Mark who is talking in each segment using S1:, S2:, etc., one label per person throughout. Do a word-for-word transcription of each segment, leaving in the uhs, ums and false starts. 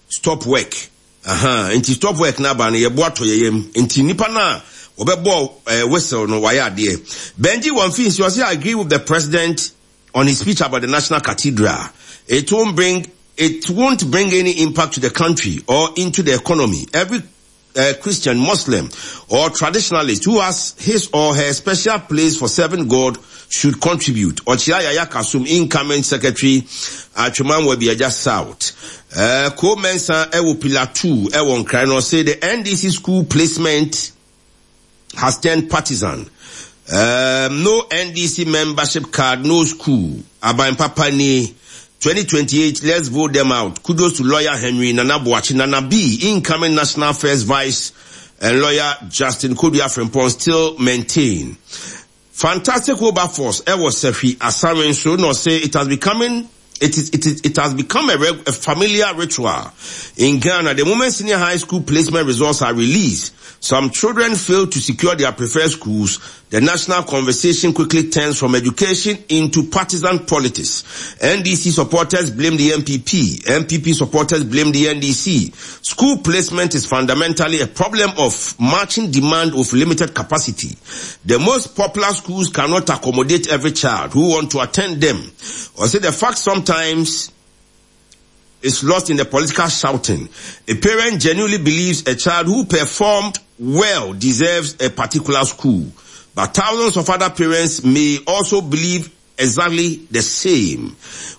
S1: Stop work. Aha, nti stop work na aba no yɛbo atɔ yɛyam. Nti nipa na wɔbɛbɔ eh, whistle no wayɛ adeɛ. Benji wɔn fi nsi ɔsɛ I agree with the president on his speech about the National Cathedral. It won't bring it won't bring any impact to the country or into the economy. Every uh, Christian, Muslim, or traditionalist who has his or her special place for serving God should contribute. Ochia Yaya Kasum, incoming secretary, Atwima Nwabiagya South. Uh, Ko Mensa, Ewo Pillar two, Ewo Nkrano, say the N D C school placement has turned partisan. Um, no N D C membership card, no school. Aban Papa ni twenty twenty-eight, let's vote them out. Kudos to lawyer Henry Nana Boachi, Nana B, incoming National First Vice, and lawyer Justin Kodua Frimpong still maintain. Fantastic Wilberforce, Ewo Sefi Asarin, so no say it has becoming it is, it is, it has become a, reg, a familiar ritual in Ghana. The moment senior high school placement results are released, some children fail to secure their preferred schools. The national conversation quickly turns from education into partisan politics. N D C supporters blame the N P P. N P P supporters blame the N D C. School placement is fundamentally a problem of matching demand with limited capacity. The most popular schools cannot accommodate every child who want to attend them. Or say the fact sometimes is lost in the political shouting. A parent genuinely believes a child who performed well deserves a particular school. But thousands of other parents may also believe exactly the same.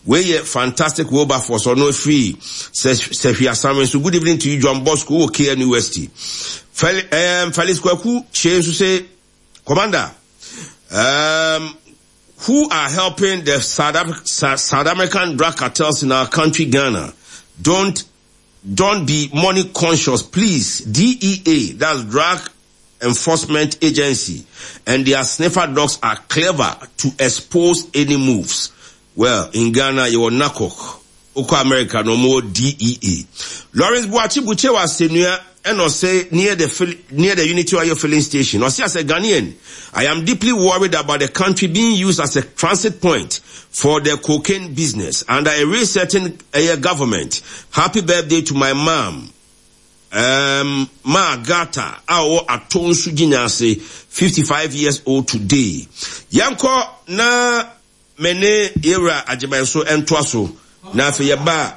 S1: We fantastic Wilberforce or no free. Sefia Samuel. So good evening to you, John Bosco, K N U S T. Fel, um, Felix Kweku, Change to say, Commander, um, who are helping the South, Af- South American drug cartels in our country, Ghana? Don't, don't be money conscious, please. D E A, that's Drug Enforcement Agency, and their sniffer dogs are clever to expose any moves. Well, in Ghana, you are NACOC. Oko America, no more D E A. Lawrence Buachi Buche was senior and say near the near the Unity Oil filling station. Or as a Ghanaian, I am deeply worried about the country being used as a transit point for the cocaine business under a resetting uh, government. Happy birthday to my mom. Um, Ma Gata, our Atonsu Ginyase, fifty-five years old today. Yanko na mene era agyeman so ɛntoa so na afei yɛba.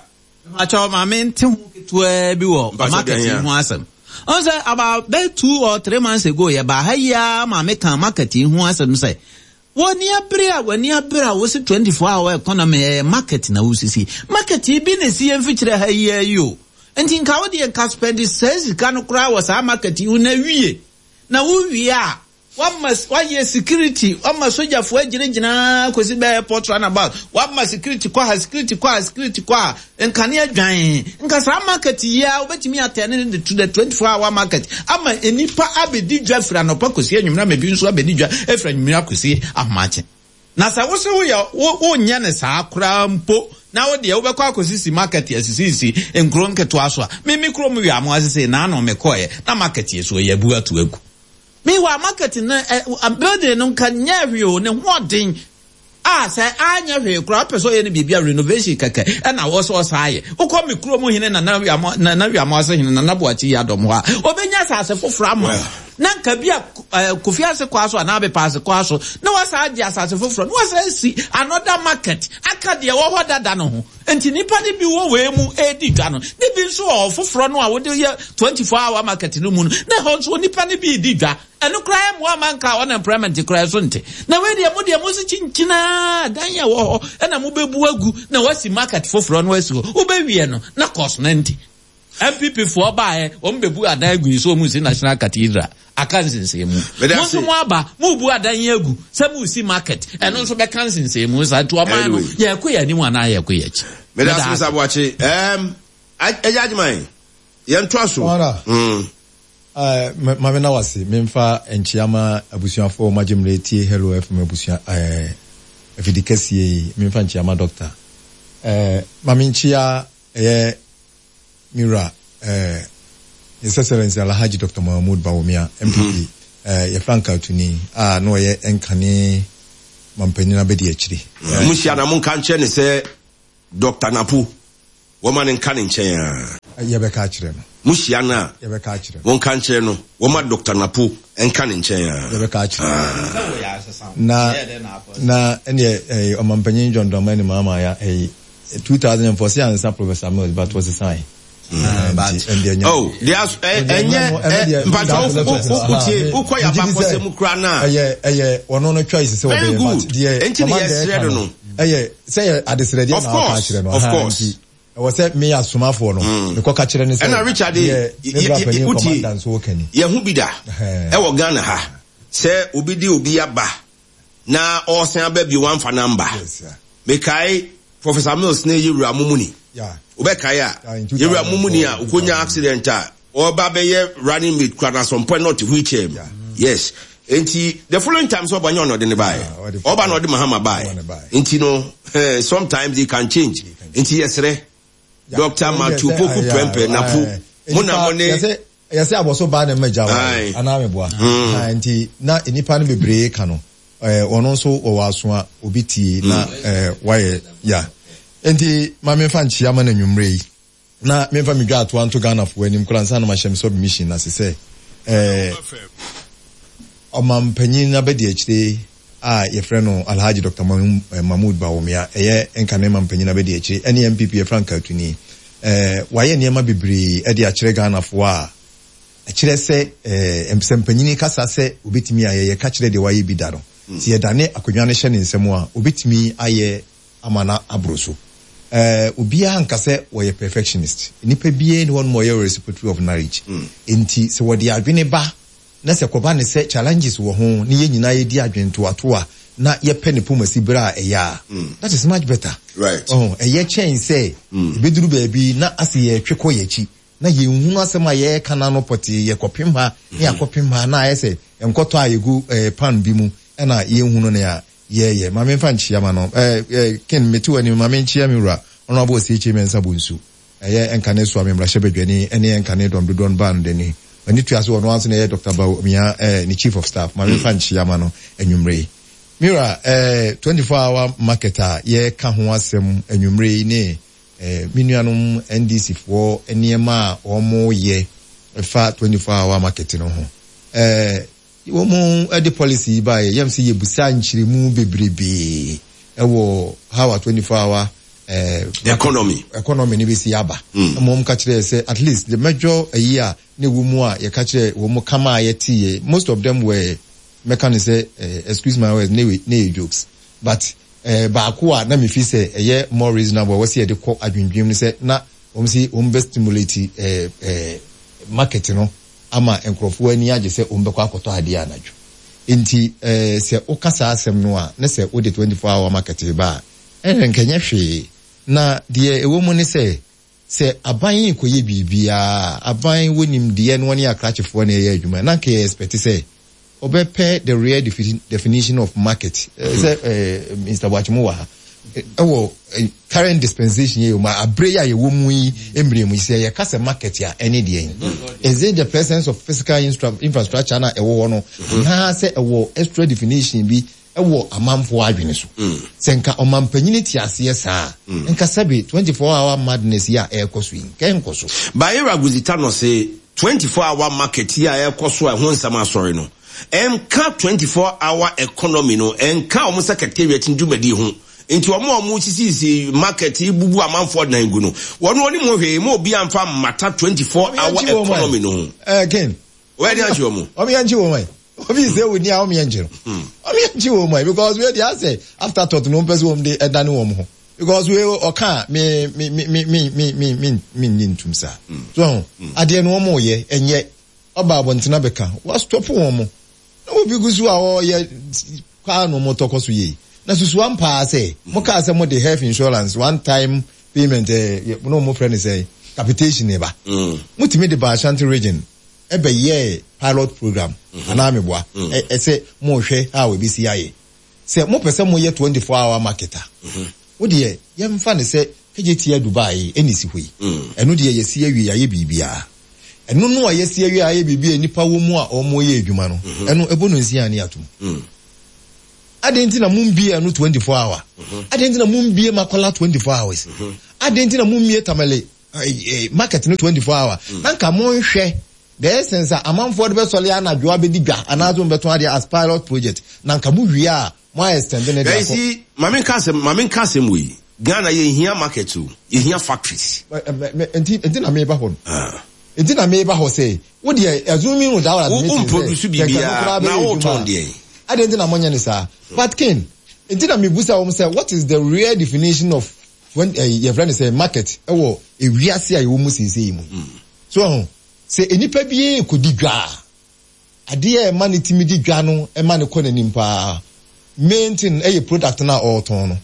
S2: Akyɛw, maame nte ho ketewa bi wɔ market ho asɛm. Ɔn sɛ about bɛɛ two or three months ago yɛba ha yi ara, maame kan market ho asɛm sɛ wɔni abere a wɔni abere a wɔsi twenty four hour economy, ɛyɛ market na wɔsisi market yi bi na esi yɛn mfikyire ha yi yi o. Nti nka wo deɛ nka spend saa sika no koraa wɔ saa market yi na wie na wowie a, wama wayɛ security, wama sogyafoɔ agyinagyina kɔsi bɛyɛ airport roundabout, wama security kɔ ha, security kɔ ha, security kɔ ha, nkanea dwan. Nka saa market yi a wobɛtumi atɛne ne to the twenty four hour market ama nipa abɛdi dwa firi anɔpa kɔsi anwummerɛ, ama ebi nso abɛdi dwa efiri anwummerɛ akɔsi ahomakye. Na sɛ wosɛ woyɛ wo wonyɛ ne saa koraa mpo na wo deɛ wobɛkɔ akɔsisi market asisisi nkuro nketewa so a, mimi kurom wi amo asese naano mekɔɛ na market yɛ so yɛ bu ato agu. Meanwhile, market no ɛ building no nka nyɛ hwee o, ne ho ɔden a sɛ anyɛ hwee koraa, wopɛ sɛ ɔyɛ no biribi a renovation kɛkɛ ɛna wɔ sɛ ɔsaa yɛ. Wokɔ me kurom hene Nana Wiamo, Nana Wiamo ase hene Nana Boakye yi adɔm hɔ a, ɔbɛnya asase foforɔ ama na nka bi a Kofi ase kɔ so anaa Abepa ase kɔ so na wasa agye asase foforɔ na wasa asi another market aka deɛ wɔ hɔ dada no ho. Nti nipa no bi wɔ wei mu edi dwa no ne bi nso wɔ foforɔ no a wɔde yɛ twenty four hour market no mu no, na ɛhɔ nso nipa no bi di dwa. Ɛno koraa mu ama nka unemployment koraa so nte. Na wei deɛ, mo deɛ mo si kyinkyinaa dan yɛ wɔ hɔ ɛna mo bɛbu agu na wasi market foforɔ no asi hɔ. Wobɛwie no na kɔs no nti N P P foɔ baeɛ, wɔn bɛbu adan agu yi so, wɔn si National Cathedral aka nsensɛn mu. Mo nso mo aba mo bu adan yi agu sɛ mo si market, ɛno nso bɛka nsensɛn mu saa. Nti ɔman no, yɛkɔ yɛ anim anaa yɛkɔ yɛ akyi?
S1: Meda ase, Mister Boakye. ɛɛm ɛyɛ adwuma yɛn to aso.
S3: Maame na wase memfa nkyia ma abusuafoɔ ɔmo agye mmerɛ tie Hello F M abusua ɛɛ afidi kɛseɛ yi. Memfa nkyia ma doctor, ɛɛ maame nkyia ɛyɛ mira ɛɛ His Excellency Alhaji Doctor Mahmood Bawumia, N P P ɛɛ yɛ frankaatuni a na ɔyɛ nkane mampanyin abɛdi akyire.
S1: Mo hyia na mo nka nkyɛn ne sɛ Doctor Napo wɔma ne nka ne nkyɛn a.
S3: Yɛbɛka akyerɛ no.
S1: Mo hyia no a,
S3: Yɛbɛka akyerɛ no.
S1: Monka nkyerɛ no, wɔma Doctor Napo nka ne nkyɛn a.
S3: Yɛbɛka akyerɛ no. Na na ɛneɛ ɛyi ɔmampanyin John Dramani Mahama ya ɛyi two thousand and four sɛ ansa Professor Mills but wɔsesan.
S1: Oh, they are ɛnyɛ mpatwa wotie wokɔ yɛ abakɔsɛ mu kura na.
S3: Ɛyɛ ɛyɛ ɔno no choice sɛ ɔbɛyɛ but deɛ
S1: Enti ne yɛsrɛ no no.
S3: Ɛyɛ sɛ yɛ adesrɛdeɛ na ɔka akyerɛ no.
S1: Of course.
S3: Ɛwɔ sɛ me asomafoɔ no mekɔ ka kyerɛ ne sɛ
S1: ɛna Richard
S3: deɛ me bra panyin commander nso ɔka ni.
S1: Yɛn ho bi da ɛwɔ Ghana ha sɛ obi de obi aba na ɔsan aba bio wamfa namba. Mekae Professor Mills ne Yewura Mumuni. Wobɛkae a Yewura Mumuni a okonya accident a ɔba bɛyɛ running mate kura na some point not wheelchair mu. Yes. Enti the following time sɛ ɔba nyɛ ɔna ɔde ne baeɛ. Ɔba na ɔde Mahama baeɛ. Nti no sometimes they can change. Nti yɛsrɛ Doctor Matthew Poku Prempeh Napo mo na mo ne
S3: yɛsɛ abɔso baa na mma gya wa anaa meboa. Nti na nnipa no bebree ka no ɔno nso wɔwɔ aso a obi tie na wayɛ ya. Nti ma memfa nkyia ma no anwummerɛ yi na memfa medwa atoa nto Ghanafoɔ anim koraa ansa na mahyɛ me submission ase sɛ ɔmampanyin abɛdi akyire a yɛfrɛ no Alhaji Doctor Mahmood Bawumia ɛyɛ nkane mampanyin abɛdi akyire ɛne N P P frankaatuni wayɛ nneɛma bebree ɛde akyerɛ Ghanafoɔ a ɛkyerɛ sɛ sɛ mpanyin kasa sɛ obetumi ayɛ yɛka kyerɛ deɛ wayɛ bi da no sɛ yɛdane akonnwa no hyɛ ne nsam a obetumi ayɛ ama na aboro so. Obiara nka sɛ wɔyɛ perfectionist. Nnipa biara ni hɔ nom a ɔyɛ repository of knowledge. Nti sɛ wɔde adwene ba na sɛ kɔba ne sɛ challenges wɔ ho ne yɛn nyinaa yɛdi adwene toatoa na yɛpɛ ne pomasi berɛ a ɛyɛ a, that is much better.
S1: Right.
S3: Oh, ɛyɛ kyɛn sɛ ebeduru baabi na ase yɛtwe kɔ yɛn akyi na yɛnhunu asɛm a yɛreka no ano pɔtee yɛkɔpem ha ne yɛakɔpem ha na ayɛ sɛ nkɔtɔ a yɛgu pan bi mu ɛna yɛnhunu nea yɛyɛ. Ma memfa nkyia ma no. Ken mete w'anim ma menkyia me wura Honorable C H Mensah Bonsu. Ɛyɛ nkane so a me mmarahyɛ badwani ɛne nkane dɔm dodoɔ no baa no dani. M'ani tua so ɔno ara nso na ɛyɛ Doctor Bawumia ne chief of staff. Ma memfa nkyia ma no anwummerɛ yi. Me wura, twenty-four hour market a yɛreka ho asɛm anwummerɛ yi ne me nuanom N D C foɔ nneɛma a wɔn yɛ fa twenty-four hour market no ho. Wɔn de policy yi baeɛ, yɛm sɛ yɛbusa nkyerɛmu bebrebe ɛwɔ how a twenty-four hour
S1: economy
S3: economy ni bɛsi aba.
S1: Mm.
S3: Na wɔn ka kyerɛ sɛ at least the major ayi a ne wɔ mu a yɛka kyerɛ wɔn kama a yɛte yɛ, most of them were mɛka ne sɛ, excuse my words, ne ne yɛ jokes, but eh, baako a na mefi sɛ ɛyɛ more reasonable wɔ sɛ yɛde kɔ adwendwem ne sɛ na wɔn si wɔn bɛ stimulate eh, eh, market no ama nkurɔfoɔ ani agye sɛ wɔn bɛkɔ akɔtɔ adeɛ anadwo. Nti eh, sɛ woka saa asɛm no a ne sɛ wode twenty-four hour market ba a ɛnna nkɛnyɛ hwee. Na deɛ ɛwɔ mu ne sɛ sɛ aban yi kɔyɛ biribiara, aban wɔ nimdeɛ no ne akrakyefoɔ na ɛyɛ adwuma, na nka yɛ expect sɛ ɔbɛpɛ the real definition of market. Sɛ Mister Boakye wɔ ha ɛwɔ current dispensation yɛ mu abere yi a yɛwɔ mu yi mmerɛ mu sɛ yɛka sɛ market a ɛne deɛ yi, is it the presence of physical infrastructure na ɛwɔ hɔ no anaasɛ ɛwɔ extra definition bi ɛwɔ amanfoɔ adwene so? Sɛ nka ɔmampanyini te aseɛ saa, nka sɛbe twenty-four hour madness yi a ɛrekɔ so yi nka ɛnkɔ so.
S1: Bayera Guzita no se twenty-four hour market yi a ɛrekɔ so a ɛho nsɛm asɔre no ɛnka twenty-four hour economy no, ɛnka wɔn secretariat ndwumadi ho. Nti wɔn a wɔn sisisi market yi bubu amanfoɔ dan gu no, wɔn wɔn mu hwee mo obi anfa mmata twenty-four hour economy no ho.
S3: Ɛɛ Ken.
S1: Wɔyɛ de ankye wɔn.
S3: Wɔn yɛn nkye wɔn ayi. Obi sɛ wo ni a wɔn yɛn nkye no. Wɔn yɛn nkye wɔn ayi because wei de asɛ afterthought no wɔn pɛ sɛ wɔn de ɛdane wɔn ho. Because wei ɔka me me me me me me me me me nyi ntum saa. So adeɛ no wɔn yɛ ɛnyɛ ɔba abɔntena bɛka wa stop wɔn mo. Na obi gu so a ɔyɛ kaa no mo tɔkɔ so yie. Na susu ampa sɛ mo kaa sɛ mo de health insurance one time payment eh no mo frɛ ne sɛ capitation ne ba. Mo timi de ba Ashanti region ɛbɛ yɛ pilot program anaa meboa ɛsɛ mo hwɛ a obi si ayɛ. Sɛ mo pɛ sɛ mo yɛ twenty-four hour market a wo deɛ yɛmfa ne sɛ K J T Dubai ɛni si hɔ yi. Ɛno deɛ yɛsi awie ayɛ biribiara. Ɛno no a yɛsi awie ayɛ biribiara nipa wɔ mu a ɔmo yɛ adwuma no. Ɛno ɛbɔ no nsia ne atom. Adɛn nti na mumbie ɛno twenty-four hour? Adɛn nti na mumbie Makola twenty-four hours? Adɛn nti na mummie Tamale eh, eh, market no twenty four hour mm. Na nka monhwɛ the essence a amanfoɔ de bɛsɔle anadwo abɛdi dwa anaasɛ wɔbɛtɔn adeɛ as pilot project, na nka mo wie a, mo ayɛ extend ne de akɔ.
S1: See, maame nka asɛm maame nka asɛm wei. Ghana, yɛhia market o, yɛhia factories.
S3: Nti nti na meba hɔ no, nti na meba hɔ sɛ wo deɛ, assuming without admitting
S1: sɛ produce biribiara na wotɔn deɛ.
S3: Adeɛ nti na monyɛ ne saa, but ken nti na mebusa wɔn sɛ, what is the real definition of when uh, yɛfrɛ no sɛ market ɛwɔ ewiase a yɛwɔ mu seesei yi mu? So ɛho sɛ nipa bi kɔdi dwa a, adeɛ a ɛma ne timi di dwa no, ɛma ne kɔ n'anim paa, main thing ɛyɛ product na ɔretɔn no.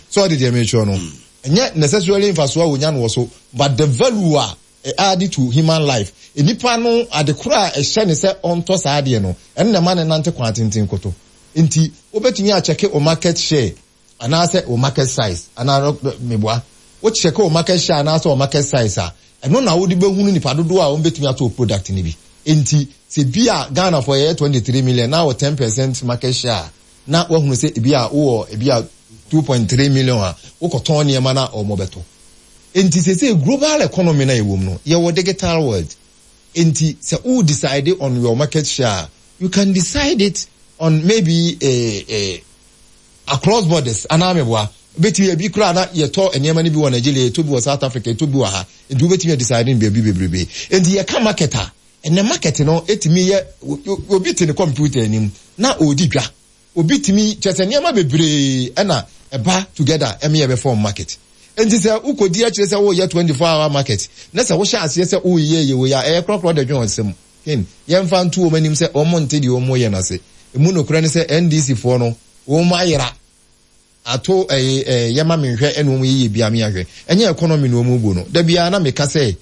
S3: So ɔde deɛ mekyerɛ no, ɛnyɛ necessarily mfasoɔ a wonya no wɔ so, but the value a add to human life, nipa no ade koro a ɛhyɛ ne sɛ ɔntɔ saa adeɛ no, ɛno na ɛma ne nante kwan tenten koto. Nti wobɛtumi akyɛke o market share anaasɛ o market size anaa meboa, wokyɛke o market share anaasɛ o market size a, ɛno na wode bɛhunu nipa dodoɔ a wɔn atɔ o product no bi. Nti sɛ bi a Ghana for yɛyɛ twenty three million na wɔ ten percent market share a, na wahunu sɛ ebi a wowɔ ebi a two point three million a wokɔtɔn nneɛma na wɔn bɛtɔ. Nti sɛ sɛ global economy na yɛwɔ mu no, yɛwɔ digital world, nti sɛ wo decide on your market share, you can decide it on maybe a, a, across borders anaa meboa. Bɛtumi ebi koraa na yɛtɔ nneɛma no bi wɔ Nigeria, yɛtɔ bi wɔ South Africa, yɛtɔ bi wɔ ha, nti wobɛtumi decide no baabi bebrebe. Nti yɛka market a, ɛnɛ market no ɛtumi yɛ obi te ne computer anim na ɔredi dwa, obi tumi kyerɛ sɛ nneɛma bebree ɛna ɛba together ɛmi yɛ bɛ form market. Nti sɛ wokɔdi akyerɛ sɛ woyɛ twenty four hour market na sɛ wohyɛ aseɛ sɛ woyɛ yɛ wɔ yɛ a, ɛyɛ korɔkorɔ de dwen ɔsɛm ken. Yɛmfa nto wɔn anim sɛ wɔn nte deɛ wɔn yɛ n'ase. Emu nokorɛ ne sɛ N D C foɔ no, wɔn ayera ato ɛyɛ ɛɛ yɛma mi nhwɛ, ɛna wɔn yɛ yɛ bia mi ahwɛ, ɛnyɛ economy na wɔn bu no. Dabi a na meka sɛ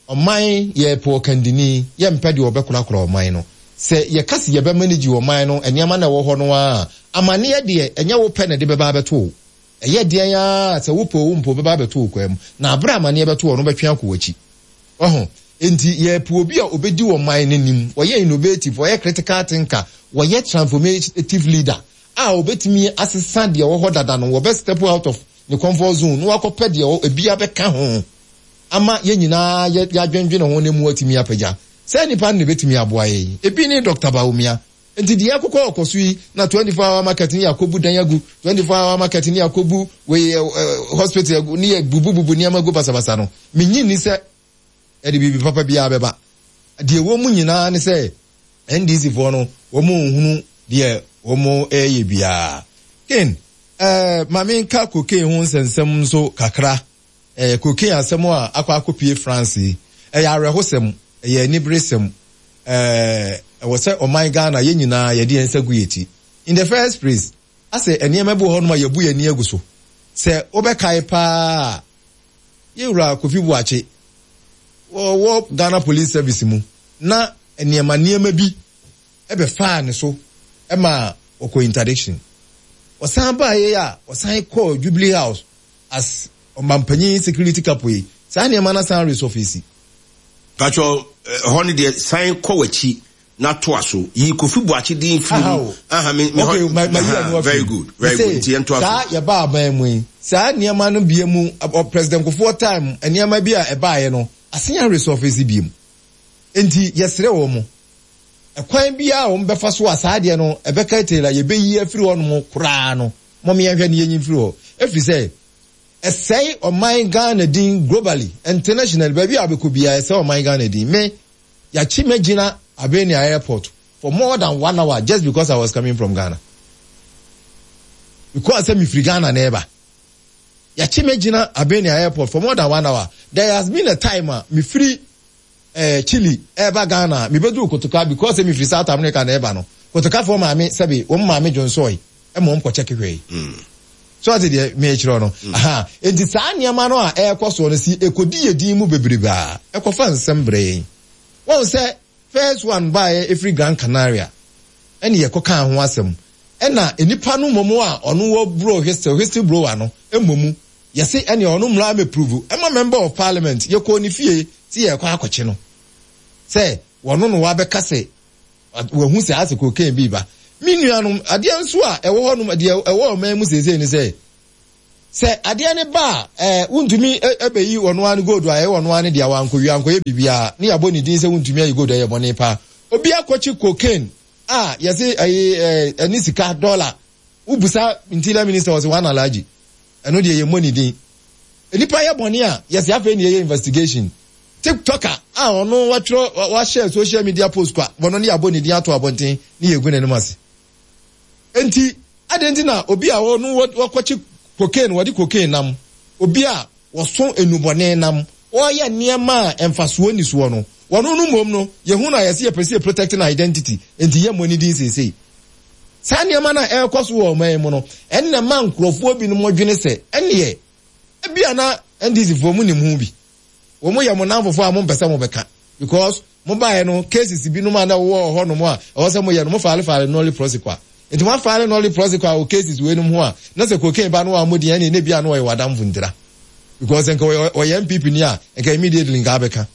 S3: ɔman yɛ pɔ kandini, yɛ mpɛ deɛ ɔbɛkorakora ɔman no. Sɛ yɛka si yɛbɛ manage ɔman no nneɛma na ɛwɔ hɔ no a, amaneɛ deɛ, ɛnyɛ wo pɛ na ɛde bɛba abɛto o. Ɛyɛ deɛn a sɛ wopɛ o mpo bɛba abɛto wo kwan mu, na abere amaneɛ bɛto wɔ no, wobɛtwe akɔ w'akyi ɔho. Nti yɛpɛ obi a obɛdi ɔman n'anim, wɔyɛ innovative, wɔyɛ critical thinker, wɔyɛ transformative leader a obɛtumi asesa deɛ ɛwɔ hɔ dada no, wɔbɛ step out of ne comfort zone na wakɔpɛ deɛ ebi abɛka ho ama yɛn nyinaa yɛ yɛadwendwene ho ne mu atumi apagya sɛ nipa no na ebɛtumi aboa yɛn. Ebi ne Doctor Bawumia. Nti deɛ ɛkokɔ ɔkɔ so yi na twenty four hour market ne yɛakɔbu dan agu, twenty four hour market ne yɛakɔbu wei ɛ hospital agu, ne yɛ bubububu nneɛma gu basabasa no, menyi ni sɛ ɛde biribi papa biara bɛba. Deɛ ɛwɔ mu nyinaa ne sɛ N D C foɔ no, wɔn nhunu deɛ wɔn ɛreyɛ biara. Ken, ɛɛ maame nka cocaine ho nsɛnsɛm nso kakra. ɛɛ cocaine asɛm a akɔ akɔpie France yi, ɛyɛ awerɛhosɛm, ɛyɛ aniberesɛm. ɛɛ ɛwɔ sɛ ɔman Ghana, yɛn nyinaa yɛde yɛn nsa gu yɛn ti. In the first place, asɛ nneɛma bi wɔ hɔnom a yɛbu yɛn ani agu so. Sɛ wobɛkae paa, yɛwura Kofi Buakye wɔwɔ Ghana Police Service mu na nneɛma nneɛma bi ɛbɛfaa ne so ɛma ɔkɔ interdiction. Ɔsan baayɛ a, ɔsan kɔɔ Jubilee House as ɔmampanyin security capo yi, saa nneɛma no san resurface.
S1: Patro, ɛhɔ no deɛ, san kɔ w'akyi na toa so. Yi Kofi Buakye din firi mu. Aha, me me
S3: okay, ma ma yi ɛnu.
S1: Very good, very good. Nti yɛn toa so.
S3: Saa yɛba aban mu yi, saa nneɛma no bie mu, President Kufuor time nneɛma bi a ɛbaayɛ no asen resurface bie mu. Nti yɛsrɛ wɔn mo, ɛkwan biara a wɔn bɛfa so a saa adeɛ no ɛbɛka tailor yɛbɛyi afiri hɔ nom koraa no, mɔm yɛnhwɛ ne yɛnyi mfiri hɔ, efiri sɛ ɛsɛe ɔman Ghana din globally, internationally. Baabi a wobɛkɔ biara, ɛsɛe ɔman Ghana din. Me yɛakyi mɛgyina Albania airport for more than one hour just because I was coming from Ghana, because sɛ mefiri Ghana na ɛba. Yɛakyi mɛgyina Albania airport for more than one hour. There has been a time a mefiri eh, Chile ɛba Ghana, mebɛduru Kotoka, because sɛ mefiri South America na ɛba no, Kotokafoɔ maame sɛbe wɔn maame dwonsɔe ɛma wɔn kɔkyɛ kehwɛ yi so. Ɔte deɛ mekyerɛ no aha. Nti saa nneɛma no a ɛrekɔ soɔ no si ekodi yɛ din mu bebrebe a ɛkɔfa nsɛm brɛ yɛn. Wɔn sɛ first one baeɛ efiri Gran Canaria, ɛne yɛkɔ kaa ho asɛm, ɛna nipa no mmom a ɔno wɔ blow whistle, whistle blower no mmom, yɛsi ɛne ɔno mmra mɛprove ɛma member of parliament. Yɛkɔɔ ne fie si yɛkɔ akɔkye no sɛ wɔno no wabɛka sɛ wɔhu sɛ asɛ cocaine bi ba. Me nuanom, adeɛ nso a ɛwɔ hɔnom, deɛ ɛwɔ ɔman mu seesei ne sɛ Sɛ adeɛ ne ba a, ɛɛ Wontumi ɛbɛyi ɔno ara ne gold a ɛyɛ ɔno ara ne deɛ, wankɔwie ankɔyɛ biribiara ne yɛabɔ ne din sɛ Wontumi ayi gold, ɛyɛ bɔne paa. Obi akɔkye cocaine a yɛse ɛyi ɛɛ ɛne sika dollar, wobusa Interior Minister, ɔsɛ wɔn Alhaji, ɛno deɛ yɛmmɔ ne din. Nipa yɛ bɔne a, yɛsɛ afei ne yɛyɛ investigation. TikToker a ɔno watwerɛ wahyɛ social media post kwa wɔno ne yɛabɔ ne din ato abɔnten ne yɛgu n'anim ase. Enti adɛn nti na obi a ɔno wɔkɔkye cocaine, wɔde cocaine nam, obi a wɔso enubɔne nam, wɔyɛ nneɛma a mfasoɔ ni soɔ no, wɔno no mmom no yɛhu no a yɛsɛ yɛpɛ sɛ yɛ protect no identity, enti yɛmmɔ ne din seesei? Saa nneɛma no a ɛrekɔ so wɔ ɔman yi mu no, ɛnna ma nkurɔfoɔ binom dwene sɛ ɛneɛ ebia na N D C foɔ mu nim ho bi, wɔn yɛ mo namfofoɔ a mompɛ sɛ mobɛka, because mobaeɛ no, cases binom a na ɛwɔ hɔ nom a ɛwɔ sɛ moyɛ no, mo file file nolle prosequi. Nti mo afile nolle prosequi wɔ cases wei nom ho a, na sɛ cocaine ba no a mo din ɛne ne bia no ɔyɛ wadamfo ntira, because nka ɔyɛ N P P ni a, nka immediately nka abɛka,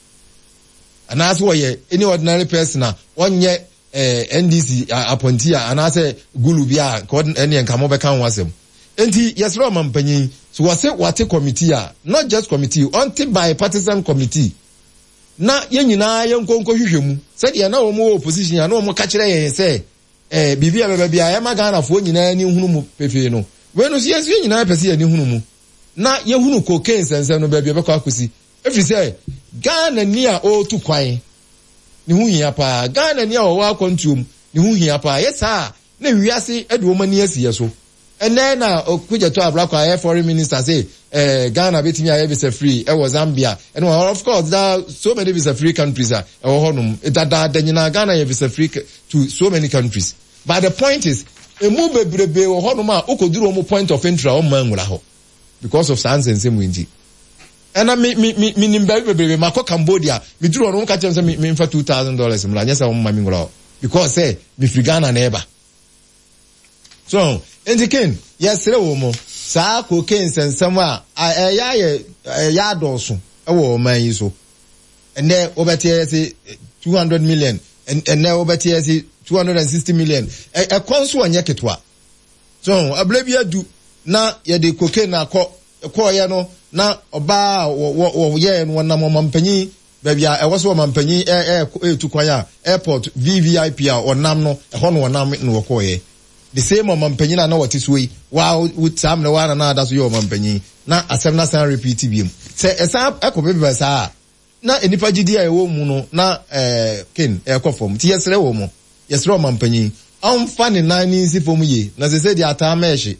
S3: anaasɛ wɔyɛ any ordinary person a wɔnyɛ eh, N D C appointee a anaasɛ gulu bi a, ɛneɛ nka mobɛka ho asɛm. Nti yɛsrɛ ɔma mpanyin so, wɔse wate committee a, not just committee, ɔnte bipartisan committee na yɛn nyinaa yɛn nkonko hwehwɛ mu, sɛdeɛ na wɔn wɔ opposition a na wɔn ka kyerɛ yɛn sɛ ɛɛ biribi a bɛbɛ bi a ɛma Ghanafoɔ nyinaa ani hunu mu pefee no. Wei no so, yɛn nso yɛn nyinaa pɛ sɛ yɛn ani hunu mu na yɛhunu cocaine nsɛnsɛm no baabi a ɛbɛkɔ akɔsi, efiri sɛ Ghana ni a ɔretu kwan ne ho hia paa, Ghana ni a ɔwɔ akwantuom ne ho hia paa. Yɛ saa na wiase de wɔn ani asi yɛ so. Ɛnɛ na Okudzeto Ablakwa ayɛ foreign minister sɛ ɛɛ Ghana bɛtumi ayɛ visa free ɛwɔ Zambia ɛne wɔn. Of course, there are so many visa free countries a ɛwɔ hɔnom dadaada nyinaa. Ghana yɛ visa free to so many countries, but the point is, emu bebrebe wɔ hɔnom a okoduru wɔn point of entry a, wɔn mma nwura hɔ because of saa nsɛnsɛm yi. Nti ɛna mi mi mi mi nim baabi bebrebe ma kɔ Cambodia, mi duru hɔ no, wɔn ka kyerɛ mi sɛ mi mi nfa two thousand dollars mu la, nyɛ sɛ wɔn mma mi nwura hɔ because sɛ mi firi Ghana na ɛba so. Nti ken yɛsrɛ wɔ mu, saa cocaine nsɛnsɛm a ɛyɛ ayɛ ɛyɛ adɔɔso ɛwɔ ɔman yi so. Ɛnɛ wɔbɛte yɛ sɛ two hundred million, ɛnɛ wɔbɛte yɛ sɛ two hundred and sixty million. Ɛkɔ nso ɔnyɛ ketewa so. Abere bi adu na yɛde cocaine akɔ kɔɔyɛ no, na ɔbaa a wɔyɛɛ no, wɔnam ɔmampanyin baabi a ɛwɔ so, ɔmampanyin ɛɛ ɛɛtu kwan a, airport V V I P a ɔnam no ɛhɔ no, ɔnam no wɔkɔɔyɛ. The same ɔmampanyin a na wɔte so yi, waa saa mmerɛ waa na na ada so yɛ ɔmampanyin, na asɛm na san repeat biem sɛ ɛsan ɛkɔ bebe saa na nipa gyidi a ɛwɔ mu no na ɛɛ ken ɛkɔ fam. Ti yɛsrɛ wɔ mu, yɛsrɛ ɔmampanyin ɔnfa ne nan ne nsi fam yie, na sɛ sɛ deɛ ataa mɛɛhye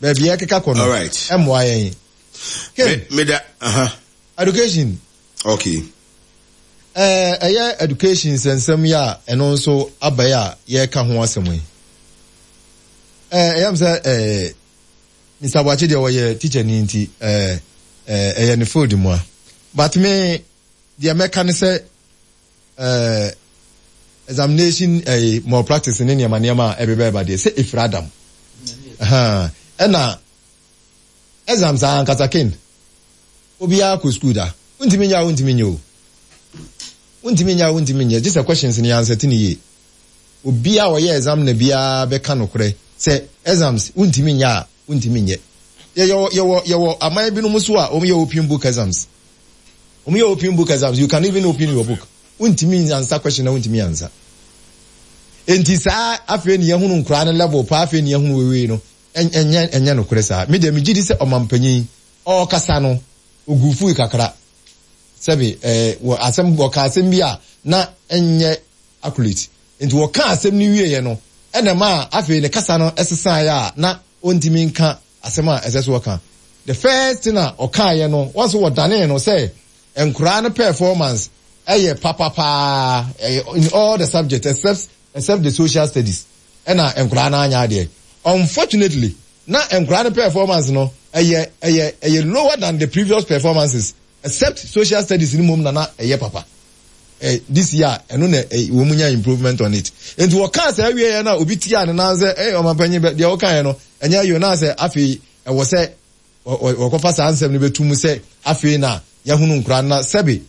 S3: baabi a ɛkeka kɔ no ɛmmoa yɛn ken.
S1: Meda aha.
S3: Education.
S1: Okay.
S3: Ɛɛ ɛyɛ education nsɛnsɛm yi a ɛno nso aba yi a yɛreka ho asɛm yi, ɛɛ ɛyɛ m sɛ ɛɛ Mister Boakye deɛ, ɔyɛ teacher ni, nti ɛɛ ɛɛ ɛyɛ ne field mu a, but me deɛ mɛka ne sɛ ɛɛ examination ɛɛ malpractice ne nneɛma nneɛma a ɛbɛbɛ ɛba deɛ, sɛ efiri adam ɛna exams a ankasa ken obiara kɔ school da, wontumi nyɛ a, wontumi nyɛ o, wontumi nyɛ a, wontumi nyɛ, gye sɛ questions no yɛansɛte ne yie. Obiara a ɔyɛ exam na biara bɛka nokorɛ sɛ exams wontumi nyɛ a, wontumi nyɛ. Yɛwɔ yɛwɔ yɛwɔ aman binom so a wɔn yɛ open book exams. Wɔn yɛ open book exams, you can even open your book, wontumi answer question na wontumi answer. Nti saa afei ni yɛhunu nkoraa no level paa, afei ni yɛhunu wewe no, ɛnyɛ ɛnyɛ nokorɛ saa. Mi deɛ, mi gyi di sɛ ɔmampanyin ɔrekasa no, ogu fui kakra, sɛbi ɛɛ wɔ asɛm, wɔka asɛm bi a na ɛnyɛ accurate. Nti wɔka asɛm no wieɛ no, ɛna ma afei ne kasa no ɛsesaeɛ a na ɔntumi nka asɛm a ɛsɛ so ɔka. The first thing a ɔkaeɛ no, wɔn nso wɔdanee no sɛ nkoraa no performance ɛyɛ papapaa ɛyɛ in all the subjects except except the social studies, ɛna nkoraa no anya adeɛ. Unfortunately, na nkoraa no performance no ɛyɛ ɛyɛ ɛyɛ lower than the previous performances, except social studies ni mom na na ɛyɛ papa. ɛ this year ɛno na ɛ wɔn mu nya improvement on it. Nti wɔkaa saa awie yɛ na obi tia ne nan sɛ ɛ ɔmanpanyin bɛ deɛ wɔka yɛ no ɛnyɛ yio, na sɛ afei ɛwɔ sɛ wɔkɔfa saa nsɛm no bɛtu mu sɛ afei na yɛhunu nkora na sɛbi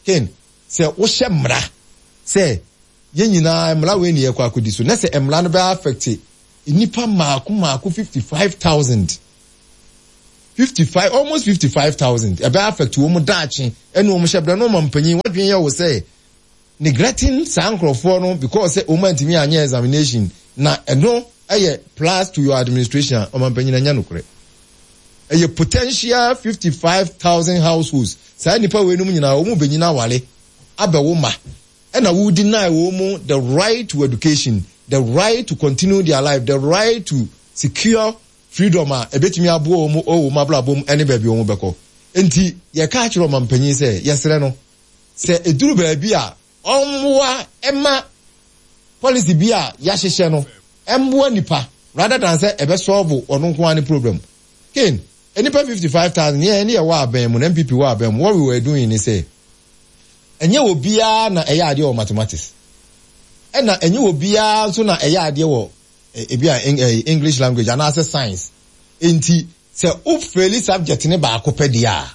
S3: ken sɛ wohyɛ mmara sɛ yɛn nyinaa mmara wei ne yɛkɔ akɔdi so, na sɛ mmara no bɛ affect nipa mmaako mmaako fifty five thousand. fifty five almost fifty five thousand ɛbɛ affect wɔn daakye ɛne wɔn hyɛ brɛ no ɔmampanyin wadwene yɛ wɔ sɛ neglecting saa nkurɔfoɔ no because sɛ wɔn antumi anyɛ examination na ɛno ɛyɛ plus to your administration a ɔmampanyin anya nokorɛ ɛyɛ potential fifty five thousand households saa nipa wei nom nyinaa wɔn bɛnyina awale abɛwo ma ɛna wo deny wɔn mu the right to education the right to continue their life the right to secure freedom a ebetumi aboa wɔn wɔ wɔn abrabɔ mu ɛne baabi wɔn bɛkɔ nti yɛka akyerɛ ɔmampanyin sɛ yɛsrɛ no sɛ eduru baabi a ɔmmoa ɛma policy bi a yɛahyehyɛ no ɛmmoa nipa rather than sɛ ɛbɛ solve ɔno nko ara ne problem ken nipa fifty five thousand yɛn ne yɛ wɔ abɛn mu na npp wɔ abɛn mu what we were doing ni sɛ ɛnyɛ obiara na ɛyɛ adeɛ wɔ mathematics ɛna ɛnyɛ obiara nso na ɛyɛ adeɛ wɔ ebi a english language anaasɛ science nti sɛ o fail subject ne baako pɛ deɛ a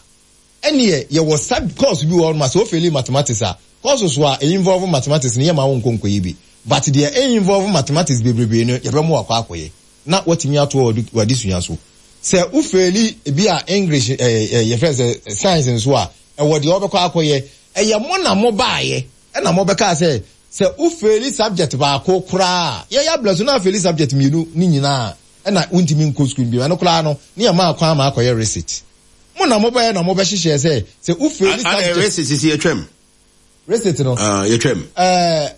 S3: ɛneɛ yɛwɔ sub course bi wɔ hɔ nom a sɛ o fail mathematics a course so a involve mathematics no yɛ ma wo nkɔ nkɔyɛ bi but deɛ involve mathematics bebrebe no yɛbɛ mo akɔ akɔyɛ na watumi ato w'adesua so sɛ o fail ebi a english ɛɛ ɛɛ yɛfrɛ sɛ science nso a ɛwɔ deɛ ɔbɛkɔ akɔyɛ ɛyɛ mo na mo baayɛ ɛna mo bɛka sɛ sɛ o fail subject baako koraa yɛyɛ abila so na a fail subject mmienu ne nyinaa ɛna wontumi nkɔ school bi ɛno koraa no ne yɛ maa kwan ma akɔyɛ resit mo na mo bɛyɛ na mo bɛhyehyɛ sɛ sɛ o fail subject
S1: resit sisi yɛtwam
S3: resit no
S1: ah yɛtwam
S3: ɛɛ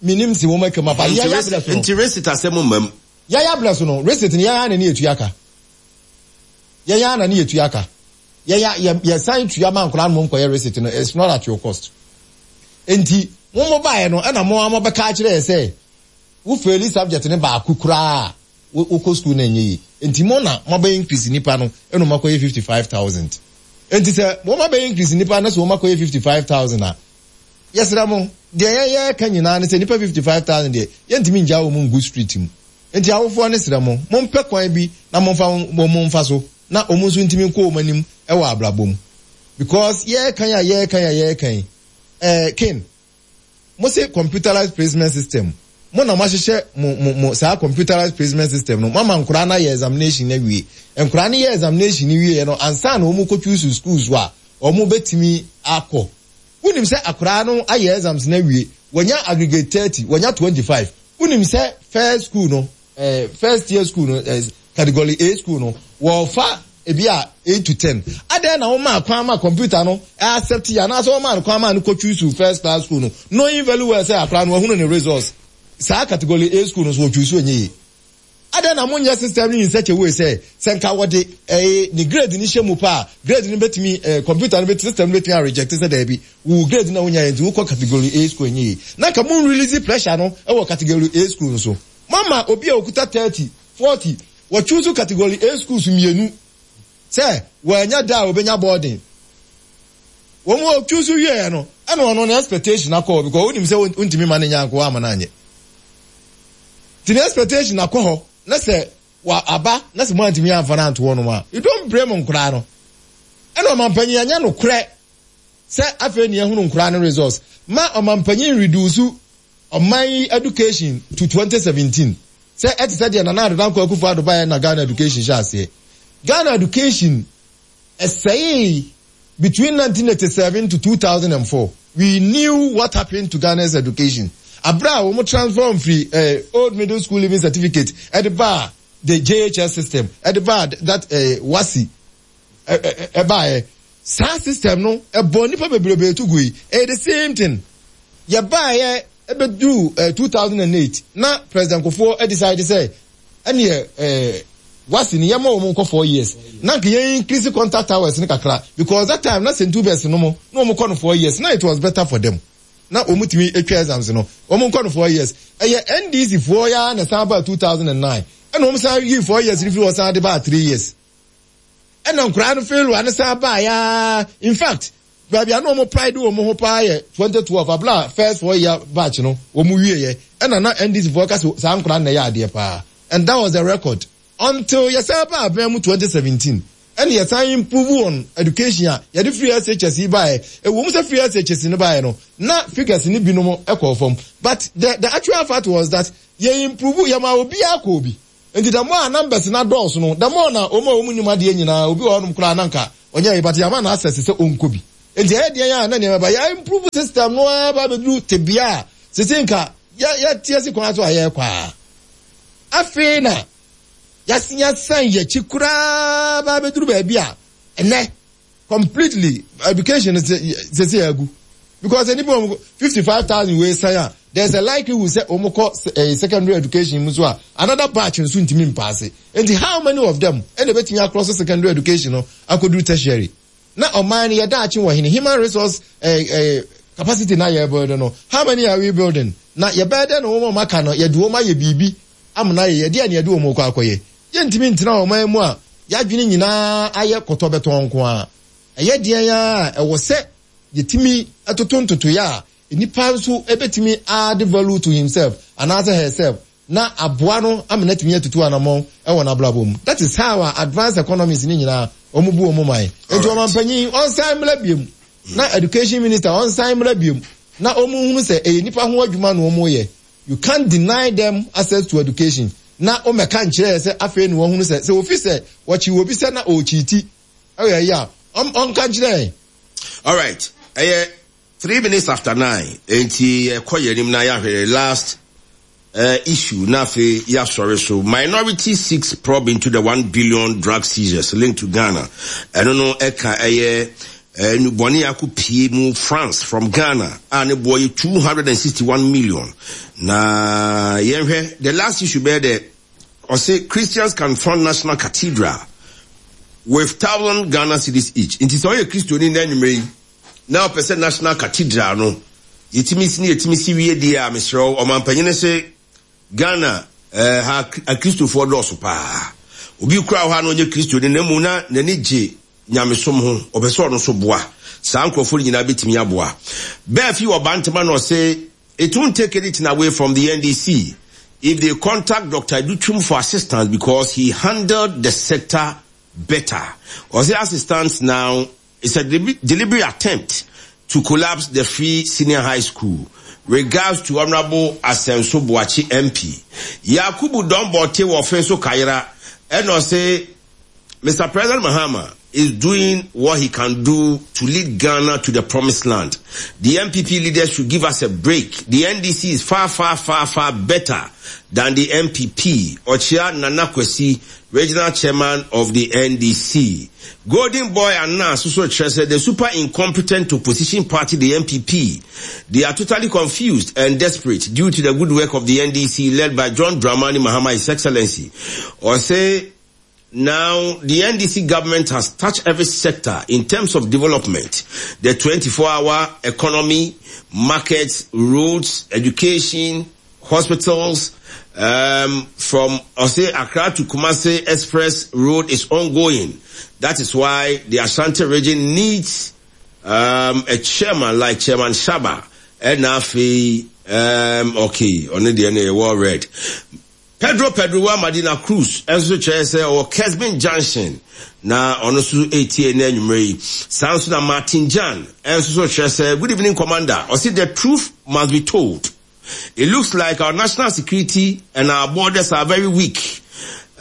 S3: minim si wɔn atwam aba yɛyɛ abila so
S1: no nti resit asɛm mmam
S3: yɛyɛ abila so no resit no yɛyɛ ana ne yɛtua ka yɛyɛ ana ne yɛtua ka yɛyɛ yɛ yɛsan tua ma nkɔla no mo nkɔyɛ resit no it's not at your cost nti mo mo baeɛ no ɛna mo a mo bɛka akyerɛ yɛ sɛ wo fail subject ne baako koraa wokɔ school na ɛnyɛ yie nti mo na mo abɛyɛ increase nipa no ɛna mo akɔyɛ fifty five thousand nti sɛ mo abɛyɛ increase nipa no sɛ mo akɔyɛ fifty five thousand a yɛsrɛ mo deɛ yɛyɛ ka nyinaa ne sɛ nipa fifty five thousand deɛ yɛntumi ngya wɔn ngu street mu nti awofoɔ ne srɛ mo mo mpɛ kwan bi na mo nfa wɔn mfa so na wɔn nso ntumi nkɔ wɔn anim ɛwɔ abrabɔ mu because yɛrekan a yɛrekan a yɛrekan ɛɛ ken mo se computerized placement system mo na mo ahyehyɛ mo mo mo saa computerized placement system no mo ama nkoraa na yɛ examination na wie nkoraa no yɛ examination no wie no ansa na wɔn kɔ choose schools a wɔn bɛtumi akɔ wonim sɛ akoraa no ayɛ exams na wie wɔnya aggregate thirty wɔnya twenty five wonim sɛ first school no ɛɛ first year school no ɛɛ category A school no wɔfa ebi a eight to ten adan na wɔn maa kwan ma computer no accept yɛ anaasɛ wɔn maa no kwan ma no kɔ choose first class school no knowing very well sɛ akora no wɔhunu ne results saa category A school no so wɔ choose onye yie adan na mo nyɛ system no in such a way sɛ sɛ nka wɔde ɛɛ ne grade ni hyɛ mu paa grade no bɛtumi ɛɛ computer no bɛtumi system no bɛtumi a reject sɛ dɛbi wo grade na wonya yɛ nti wokɔ category A school enye yie na nka mo release pressure no ɛwɔ category A school no so mama obi a okuta thirty forty wɔ choose category A schools mmienu sɛ wɔanya da a wɔbɛnya boarding wɔn wɔ choose wieɛ no ɛna ɔno ne expectation akɔ hɔ because wonim sɛ wontumi ma ne nya nko ama no anyɛ nti ne expectation akɔ hɔ na sɛ wa aba na sɛ mo antumi amfa no anto hɔ nom a you don't blame nkoraa no ɛna ɔmampanyin anya no korɛ sɛ afei ne ehunu nkoraa no results ma ɔmampanyin reduce ɔman yi education to twenty seventeen sɛ ɛte sɛ deɛ nana addo dankwa akufo addo baeɛ na ghana education hyɛ aseɛ ghana education ɛsɛe between nineteen eighty seven to two thousand and four we knew what happened to ghana's education abira a wɔn transform firi eh, old middle school leaving certificate ɛde ba the jhs system ɛde ba that eh, WASSCE ɛbaeɛ saa system no ɛbɔ nipa bebrebe to gu yi ɛyɛ the same thing yɛbaeɛ ɛbɛduru eh, two thousand and eight na president kufuor decide sɛ ɛneɛ ɛɛ WASSCE ni yɛma wɔn nkɔ four years na nka yɛn increase contact hours ne kakra because that time na st hubert no mo na wɔn kɔ no four years na it was better for them na wɔn tumi atwa exams no wɔn nkɔ no four years ɛyɛ ndc foɔ ya na san ba two thousand and nine ɛna wɔn san yi four years ni fi wɔ san de ba three years ɛna nkwaraa no fail wa ne san ba ya in fact baabi a na wɔn pride wɔn ho paa yɛ twenty twelve abla first four year batch no wɔn wie yɛ ɛna na ndc foɔ ka so saa nkwaraa na ɛyɛ adeɛ paa and that was the record until yɛsan ba abɛn mu twenty seventeen ɛna yɛsan improve on education a yɛde free shs yi baeɛ ɛwɔ mu sɛ free shs no baeɛ no na figures no binom ɛkɔɔ fam but the the actual fact was that yɛ improve yɛma obiara kɔ obi Nti the more a numbers na dɔɔso no, the more na wɔn a wɔn nim adeɛ nyinaa, obi wɔ hɔnom koraa na nka ɔnyɛ yi, but yɛama no access sɛ ɔnkɔ bi. Nti ɛyɛ deɛn a na nneɛma ba, yɛ improve system no ara ba abɛduru tebea a sese nka yɛ yɛte asi kwan so a yɛrekɔ a. Afei na yɛasen asan yɛakyi koraa ba abɛduru baabi a ɛnɛ completely education sese agu, because nipa wɔn fifty five thousand wei san a, there is a likelihood sɛ wɔn kɔ eh, secondary education mu so a, another batch nso ntumi mpaase. Nti how many of them ɛna ebetumi across secondary education no akɔduru tertiary? Na ɔman no yɛda akye wɔ hene human resource eh, eh, capacity na yɛ build no, how many are we building? Na yɛbɛyɛ dɛ na wɔn a wɔaka no, yɛde wɔn ayɛ biribi amena yɛ yɛde a na yɛde wɔn kɔ akɔyɛ. Yɛntumi ntena ɔman mu a yɛadwene nyinaa ayɛ kɔtɔ bɛtɔn nko a. Ɛyɛ deɛn a ɛwɔ sɛ yɛtumi toto ntotoeɛ a nipa nso ebɛtumi add value to himself anaasɛ herself na aboa no ama no atumi atutu anammɔn ɛwɔ n'abrabɔ mu. That is how our advanced economies ne nyinaa wɔn bu wɔn man. Nti ɔmanpanyin ɔnsan mmra biem, na education minister ɔnsan mmra biem, na wɔn hunu sɛ ɛyɛ nipa ho adwuma na wɔn yɛ. You can't deny them access to education na wɔmɛka nkyerɛ sɛ afei na wɔn hunu sɛ sɛ ofi sɛ wɔkyi obi sɛ na ɔrekyi ti ɛyɛ yi a, ɔnka nkyerɛ.
S1: Alright, ɛyɛ three minutes after nine, nti yɛkɔ yɛn anim na yɛahwɛ last uh, issue na afei yɛasɔre so. Minority seeks probe into the one billion drug seizures linked to Ghana. Ɛno no ɛka ɛyɛ nnubɔne akɔ pie mu France from Ghana a ne boɔ yɛ two hundred and sixty one million. Na yɛnhwɛ the last issue bɛyɛ dɛ ɔsɛ Christians can fund National Cathedral with thousand Ghana cedis each. Nti sɛ ɔyɛ Kristoni na anwummerɛ yi na ɔpɛ sɛ National Cathedral no yɛtumi si ne yɛtumi si wie deɛ a, mesrɛ wo, ɔmampanyini sɛ Ghana eh, ha akristofoɔ dɔɔso paa. Obi kura hɔ a na ɔnyɛ Kristoni na mu na n'ani gye nyamesom ho, ɔpɛ sɛ ɔno nso boa. Saa nkurɔfoɔ no nyinaa bɛtumi aboa. Bɛɛfi wɔ Bantama na ɔsɛ it won't take anything away from the N D C if they contact Doctor Adutwum for assistance because he handled the sector better. Ɔsɛ assistance now is a deliberate attempt to collapse the free senior high school. Regards to Honorable Asenso Boakye M P. Yakubu Dombote wɔ Fenso Kayira ɛna ɔsɛ Mister President Mahama is doing what he can do to lead Ghana to the promised land. The N P P leaders should give us a break. The N D C is far, far, far, far better than the N P P. Ochia Nana Kwesi, regional chairman of the N D C. Golden Boy Anna soso kyerɛ the super incompetent opposition party, the N P P. They are totally confused and desperate due to the good work of the N D C led by John Dramani Mahama, His Excellency. Ɔse now, the N D C government has touched every sector in terms of development. The twenty-four-hour economy, markets, roads, education, hospitals, um, from Ose Accra to Kumasi Express Road is ongoing. That is why the Ashanti region needs um, a chairman like Chairman Shaba. And afei, um, okay, on the well read. Pedro Pedro wa Madina Cruz nso kyerɛ sɛ ɔwɔ Kesbin Junction na ɔno nso etie ne anwummerɛ yi. Saa nso na Martin Jan nso so kyerɛ sɛ good evening, Commander. Ɔsi the truth must be told. It looks like our national security and our borders are very weak.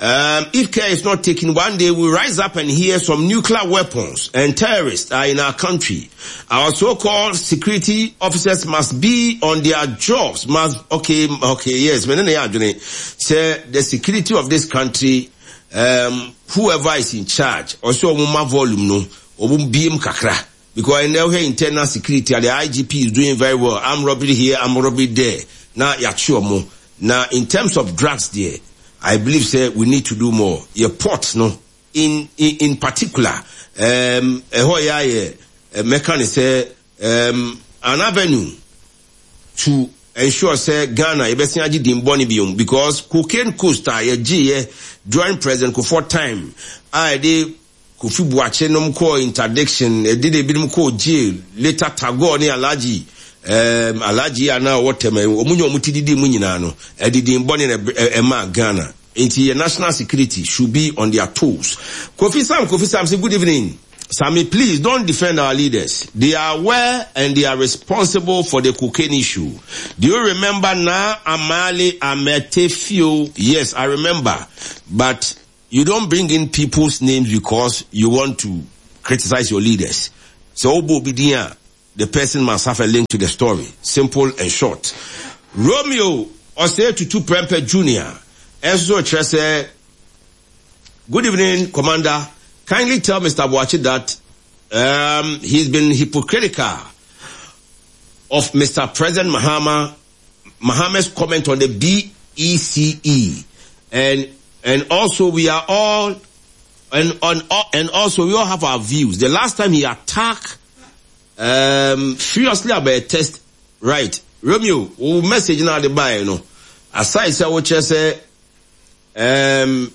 S1: Um, if care is not taken, one day we rise up and hear some nuclear weapons and terrorists are in our country. Our so-called security officers must be on their jobs. Must okay, okay, yes. Say the security of this country, um, whoever is in charge, also ɔmo volume no, ɔmo biem kakra. Because in the internal security, the I G P is doing very well. Armed robbery here, armed robbery there. Now, yachi. Now, in terms of drugs there, I believe say we need to do more. Your port no, in in, in particular, um, ɛhɔ yɛ ayɛ mɛka ne sɛ um, an avenue to ensure sɛ Ghana yɛbɛsen agye din bɔne biom, because cocaine coast a yɛgyeeɛ during President Kufuor time a yɛde Kofi Buakye nom kɔɔ interdiction, ɛde de ebinom kɔɔ jail later, Tagore ne Alhaji um, Alhaji a na ɔwɔ tɛm, ɔmo nyɛ ɔmo ti didi mu nyinaa no, ɛde din bɔne na ɛma Ghana. Nti yɛ national security should be on their toes. Kofi Sam, Kofi Sam say good evening. Sammy, please don't defend our leaders. They are aware and they are responsible for the cocaine issue. Do you remember now Amali Ametefio? Yes, I remember. But you don't bring in people's names because you want to criticize your leaders. So Obo the person must have a link to the story. Simple and short. Romeo Osei Tutu Prempeh Junior Enso Trese. Good evening, Commander. Kindly tell Mister Boakye that um, he's been hypocritical of Mister President Mahama, Mahama's comment on the B E C E, and and also we are all and on and also we all have our views. The last time he attacked um, furiously about a test, right? Romeo, wo message now the buy, you know. Aside sɛ what sɛ um,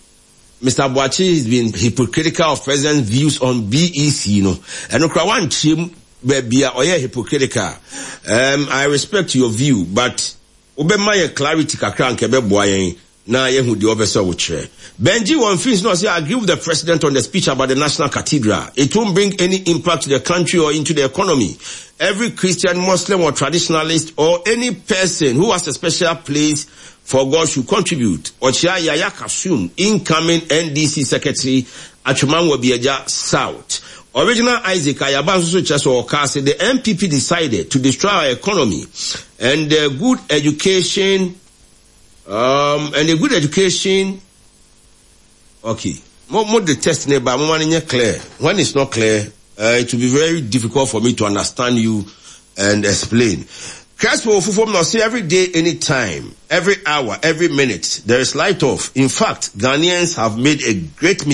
S1: Mister Boakye has been hypocritical of president's views on B E C, you know. And okra one chim baabi a ɔyɛ hypocritical. Um, I respect your view, but wobɛma yɛ clarity kakra nka ɛbɛboa yɛn na yɛhu deɛ ɔbɛ sɛ wokyerɛ. Benji wɔn fins no sɛ, I agree with the president on the speech about the National Cathedral. It won't bring any impact to the country or into the economy. Every Christian, Muslim or traditionalist or any person who has a special place for God should contribute. Ɔkyea Yaya Kasum, incoming N D C secretary, Atwima Nwabiagya South. Original Isaac Ayaba nso so kyerɛ sɛ ɔka sɛ the N P P decided to destroy our economy and the good education um, and the good education. Okay, mo mo the test ne ba mo ma ne clear. When it's not clear, uh, it will be very difficult for me to understand you and explain. Crespo Fufom now sɛ every day, anytime, every hour, every minute, there is light off. In fact, Ghanaians have made a great mistake.